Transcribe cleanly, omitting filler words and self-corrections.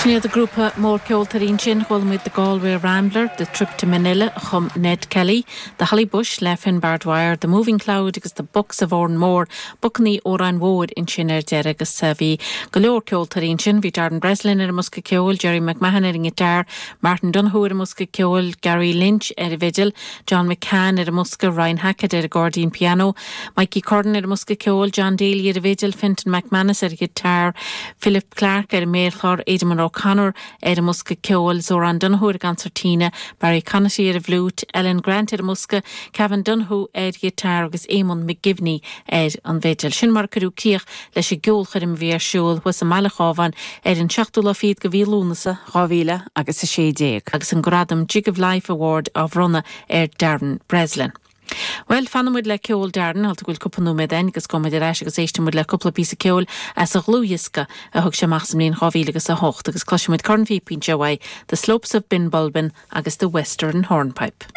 Sin iad an grúpa mór ceoltóirí ansin. Chuala muid The Galway Rambler, The Trip to Manila a chum Ned Kelly, The Holly Bush le Finbar Dwyer, The Moving Cloud agus The Bucks of Oranmore, Bocannaí Óráin Mhóir ansin ar deireadh agus bhí go leor ceoltóirí ansin. Bhí Darren Breslin ar an mbosca ceoil, Gerry McMahon ar an ngiotár, Martin Donoghue ar an mbosca ceoil, Gary Lynch ar an bhfidil, John McCann ar an mbosca, Ryan Hackett ar an gcairdín pianó, Mikey Curran ar an mbosca ceoil, John Daly ar an bhfidil, Fintan McManus ar an ghiotár, Philip Clarke ar an méarchlár, Edmund O'Connor ar an mbosca ceoil, Zoran Donoghue ar an gconsairtíne, Barry Conaty ar an bhfliúit, Ellen Grant ar an mbosca, Kevin Donoghue ar ghiotár agus Eamonn McGivney ar an bhfidil. Sin mar a cuireadh críoch leis an gceolchoirm a bhí ar siúl thuas i mBaile Chábháin ar an seachtú lá fichead de mhí Lúnasa, 2000 agus 16. Agus an gradam Jig of Life Award á bhronnadh ar Darren Breslin. Bhuel, fanfaidh muid le ceol Darren, go bhfuil cúpla nóiméad againn agus gabhfaidh muid ar ais agus éistfidh muid le cúpla píosa ceoil as a dhlúthdhiosca a thug sé amach sa mbliain 2008 agus cloisfidh muid cornphíopa anseo uaidh, The Slopes of Benbulben agus The Western Hornpipe.